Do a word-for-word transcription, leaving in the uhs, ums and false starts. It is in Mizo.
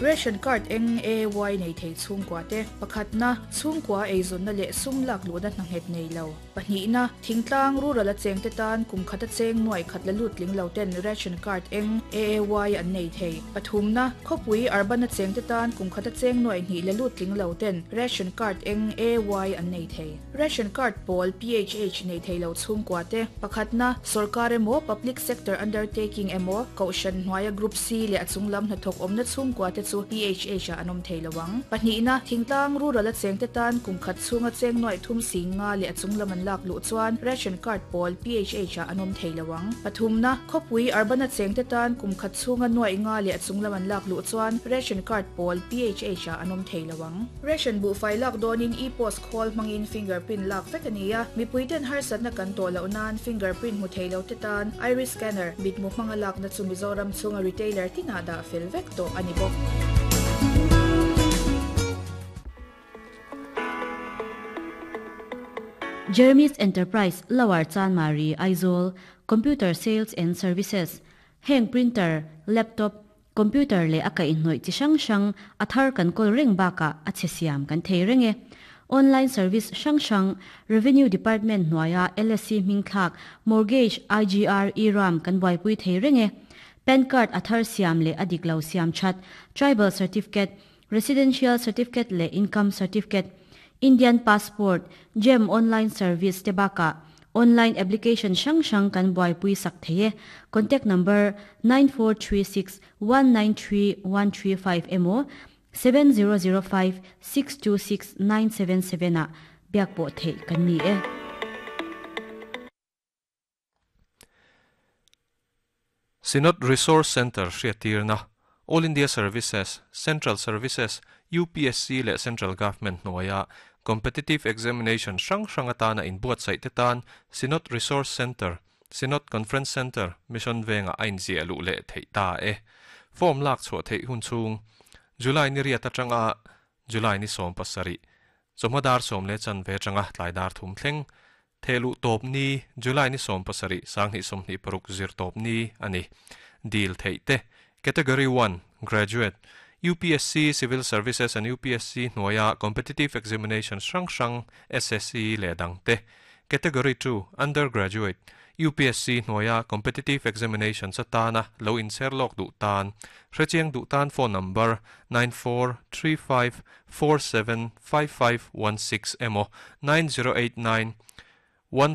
Ration card eng A Y nei thei chhungkua te pakhatna chhungkua eizawnna leh sum lak luhna hna nghet nei lo pahnihna thingtlang rural a cheng te tan kum khata cheng nuai khat la lut tling lo ten ration card eng A A Y an nei thei pathumna khawpui urban a cheng te tan kum khata cheng nuai hnih la lut tling lo ten ration card eng A Y an nei thei ration card pawl P H H nei thei lo chhungkua te pakhatna sarkar emaw public sector undertaking emaw kohhran hnuaia group C leh a chunglam hnathawk awmna chhungkua te chu P H H a an awm thei lowang pahnihna thingtlang rural a cheng te tan kum khat chhunga cheng nuai thum sing nga leh a chunglam an lak luh chuan ration card pawl P H H a an awm thei lowang pathumna khawpui urban a cheng te tan kum khat chhunga nuai nga leh a chunglam an lak luh chuan ration card pawl P H H a an awm thei lowang ration buhfai lak dawnin e-post khawl hmangin fingerprint lak vek ania mipuiten harsatna kan tawh loh nan fingerprint hmu thei lo te tan iris scanner mitmu hmanga lakna chu Mizoram chhunga retailer tinah dah fel vek tawh ani bawk. Jeremy's Enterprise, Lower Chanmari, Aizawl, Computer Sales and Services, Heng printer, laptop, computer le aka inhnoi chi hrang hrang a thar kan kawl reng bakah a chhe siam kan thei reng e. Online service hrang hrang, Revenue Department hnuaia L S C hming thlak, mortgage, I G R, E-Ram kan buaipui thei reng e. PAN card a thar siam leh a dik lo siam that, tribal certificate, residential certificate leh income certificate, Indian passport, GeM online service te bakah online application hrang hrang kan buaipui sak thei e. Contact number nine four three six one nine three one three five emaw seven zero zero five six two six nine seven seven ah biak pawh theih kan ni e. Synod Resource Centre hriattirna All India Services, Central Services, U P S C leh Central Government hnuaia Competitive Examination hrang hrang atana inbuatsaih te tan Synod Resource Centre, Synod Conference Centre, Mission Venga a inziah luh leh theih ta e. Form lak chhuah theih hun chhung July ni riat atanga July ni sawm pasarih chawhma dar sawm leh chan ve atanga tlai dar thum thleng thehluh tawp ni July ni sawm pasarih sanghnih sawmhnih paruk zir tawp ni ani. Deal theih te Category one Graduate U P S C Civil Services and U P S C hnuaia Competitive Examination hrang hrang S S C leh dang te Category two Undergraduate U P S C hnuaia Competitive Examination chatana lo inser lawk duh tan hrechiang duh tan phone number nine four three five four seven five five one six emaw nine zero eight nine